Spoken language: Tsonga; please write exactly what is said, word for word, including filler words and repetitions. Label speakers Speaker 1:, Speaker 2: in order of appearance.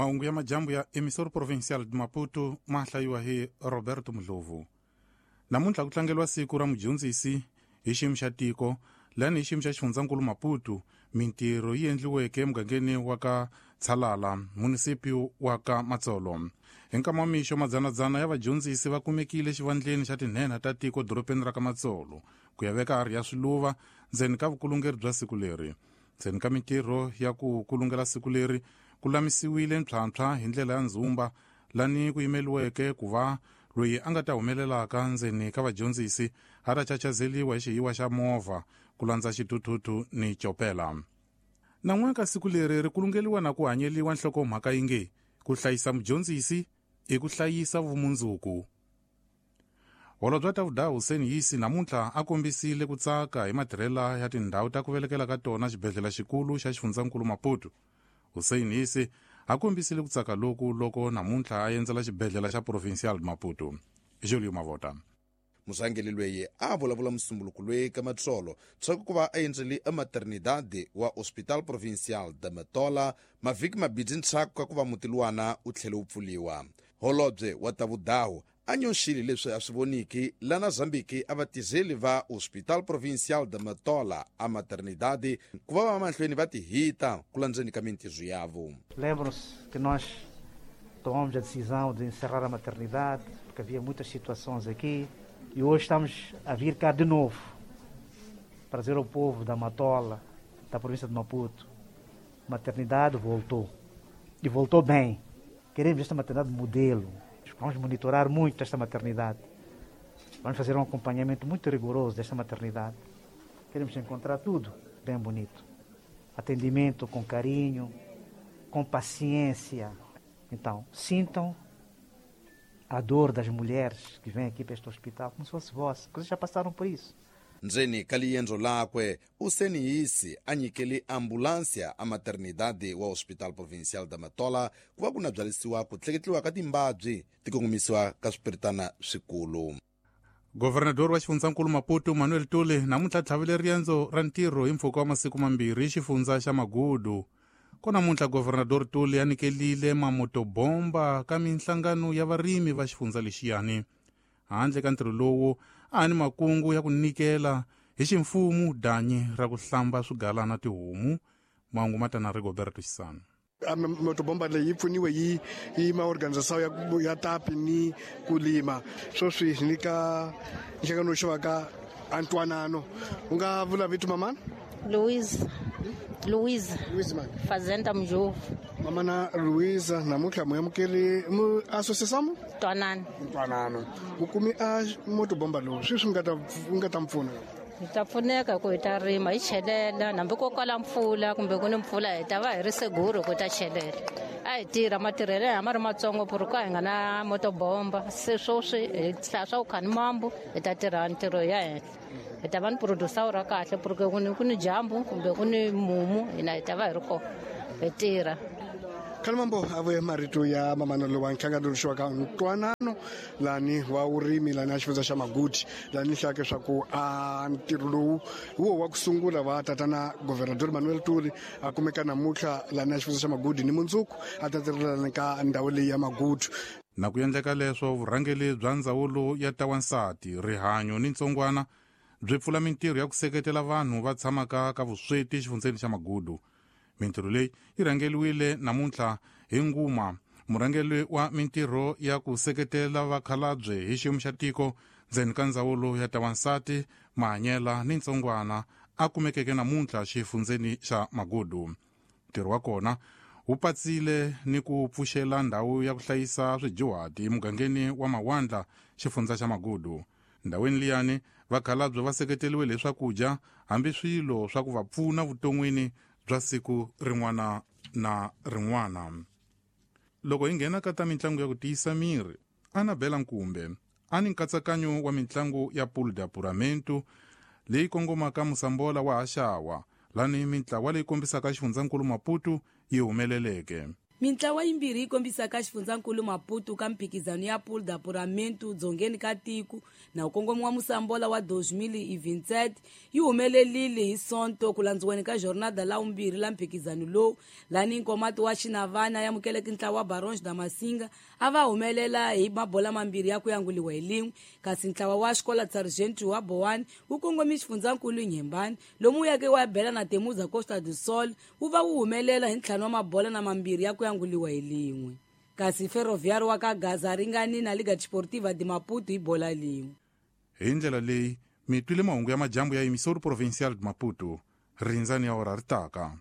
Speaker 1: Mahungu ya majambu ya Emissor Provincial de Maputo ma hlayiwa hi Roberto Mdlovu. Namuntlha ku tlangeriwa siku ra mudyondzisi hi xiyimo xa tiko, lani hi xiyimo xa xifundzankulu Maputo, mintirho yi endliweke emugangeni wa ka Tshalala, munisipi wa ka Matsolo. Hi nkama wa mixo madzanadzana ya vadyondzisi va kumekile xivandleni xa tinhenha ta tiko dorobeni ra ka Matsolo ku ya veka harhi ya swiluva ndzeni ka vukulungeri bya siku leri. Ndzeni ka mintirho ya ku kulungela siku leri ku lamisiwile ntlhantlha hi ndlela ya ndzumba lani ku yimeliweke ku va loyi a nga ta humelelaka ndzeni ka vadyondzisi a ta chachazeliwa hi xihiwa xa movha ku landza xithuthuthu ni chopela. Nan'waka siku leri ri kulungeliwa na ku hanyeliwa nhlokomhaka yi nge ku hlayisa mudyondzisi i ku hlayisa vumundzuku. Holobye Tavhuda Hussein Yisi namuntlha a kombisile ku tsaka hi matirhela ya tindhawu ta ku velekela ka tona xibedhlele xikulu xa xifundzankulu Maputo. Hussein Yisi a kombisile ku tsaka loku loko namuntlha a endzela xibedhlele xa Provincial Maputo. Julio Mavota.
Speaker 2: Murhangeri loyi a vulavula musumbuluko loyi ka Matsolo tshaku ku va a endzele ematernidade wa Hospital Provincial de Matola mavhiki mabirhi ndzhaku ka ku va muti luwana wu tlhele wu pfuliwa. Holobye wa Tavhudaho a nyoxile leswi a swi voniki lana Zambiki a vatirheli va Hospital Provincial de Matola a maternidade ku va va mahlweni va tihita ku landzeni ka mintirho yavo.
Speaker 3: Lembram-se que nós tomamos a decisão de encerrar a maternidade porque havia muitas situações aqui. E hoje estamos a vir cá de novo para dizer ao povo da Matola, da província de Maputo, a maternidade voltou. E voltou bem. Queremos esta maternidade modelo. Vamos monitorar muito esta maternidade. Vamos fazer um acompanhamento muito rigoroso desta maternidade. Queremos encontrar tudo bem bonito. Atendimento com carinho, com paciência. Então, sintam a dor das mulheres que vêm aqui para este hospital, como se fosse vossa, porque vocês já passaram por isso.
Speaker 2: Ndzeni ka liendzo lakwe Hussein Yisi a nyikele ambulance a maternidade wa Hospital Provincial da Matola ku va ku na byalisiwa ku tleketliwa ka timbabyi ti kongomisiwa ka swipiritana swikulu.
Speaker 1: Governador wa xifundzankulu Maputo Manuel Tule namuntlha tlhavile riendzo ra ntirho hi mpfhuka wa masiku mambirhi xifundza xa Magudu. Ko namuntlha Governador Tule a nyikelile mamotobomba ka minhlangano ya varimi va xifundza lexiyani. Handle ka ntirho lowu a ni makungu ya ku nyikela hi ximfumo danyi ra ku hlamba swigalana tihomu. Mahungu ma ta na Rigoberto Xisano.
Speaker 4: Motobomba leyi yi pfuniwe yi yi maorganização ya ya tapi ni kulima sweswi hi nyika nhlangano xo ka Antwanano. U nga vula vito mamana?
Speaker 5: Louise. Louise.
Speaker 4: Louise man.
Speaker 5: Fazenda Mjovu.
Speaker 4: Mamana Louise namuntlha mu amukeli mu associação?
Speaker 5: Ntwanano.
Speaker 4: Ntwanano. U kumi a motobomba lowu sweswi nga ta nga ta mpfuna.
Speaker 5: Hi ta pfuneka ku hi ta rima hi chelela hambi ko kala mpfula kumbe ku ni mpfula hi ta va hi ri seguro ku ta chelela. A hi tirha matirhelo ya ma ri matsongo ku hi nga na motobomba se sweswi hi hlaya swa ku kha ni mambu hi ta tirha ntirho ya henhla. Hi ta va ni producer ra kahle porque ku ni ku ni dyambu kumbe ku ni mumu hina hi ta va hi ri kona hi tirha.
Speaker 4: Khalimambo a vuye marito ya mamana lowa nhlangano lowu ka Ntwanano lani wa urimi lani a xifundza xa Maguti lani hlake swa ku a ntirho lowu wo wa ku sungula va tatana Governador Manuel Tuli a kumeka namuntlha lani a xifundza xa Maguti ni mundzuku a ta tirhelana ka ndhawu leyi ya Maguti.
Speaker 1: Na ku endleka leswo vurhangeri bya ndzawulo ya tawansati rihanyo ni ntsongwana byi pfula mintirho ya ku seketela vanhu va tshamaka ka vusweti xifundzeni xa Magudu. Mintirho leyi yi rhangeriwile namuntlha hi Nguma, murhangeri wa mintirho ya ku seketela vakhalabye hi xiyimo xa tiko ndzeni ka ndzawulo ya tawansati mahanyela ni ntsongwana a kumekeke namuntlha xifundzeni xa Magudu. Ntirho wa kona wu patsile ni ku pfuxela ndhawu ya ku hlayisa swidyuhati emugangeni wa Mawandla xifundza xa Magudu. Ndhawini liyani vakhalabye va seketeliwe hi swakudya hambi swilo swa ku va pfuna vuton'wini bya siku rin'wana na rin'wana. Loko hi nghena ka ta mitlangu ya ku tiyisa miri, Anabela Nkumbe a ni nkatsakanyo wa mitlangu ya Pool de Apuramento leyi kongomaka Musambola wa Haxawa lani mintlawa leyi kombisaka xifundzankulu Maputo yi humeleleke.
Speaker 6: Mintlawa yimbirhi yi kombisaka xifundzankulu Maputo ka mphikizano ya Pool d'Apuramento dzongeni ka tiko na wu kongomi wa Musambola wa dos mil e vinte e sete yi humelerile hi Sonto ku landziweni ka jornada la vumbirhi la mphikizano lowu, lani Nkomati wa Xinavana ya amukeleke ntlawa wa Barões da Masinga a va humelela hi mabola mambirhi ya ku yanguliwa hi lin'we, kasi ntlawa wa Xikola Sargento wa Boane wu kongomi xifundzankulu Inhambane lomu wu yake wa bela na Temuza Costa do Sol wu va wu humelela hi ntlhanu wa mabola na mambirhi ya ku yanguliwa hi lin'we, kasi Ferroviário wa ka Gaza ringani na Liga Desportiva de Maputo hi bola lin'we.
Speaker 1: Hi ndlela leyi mi twile mahungu ya majambu ya Emissora Provincial de Maputo. Rindzani ya ora ri taka.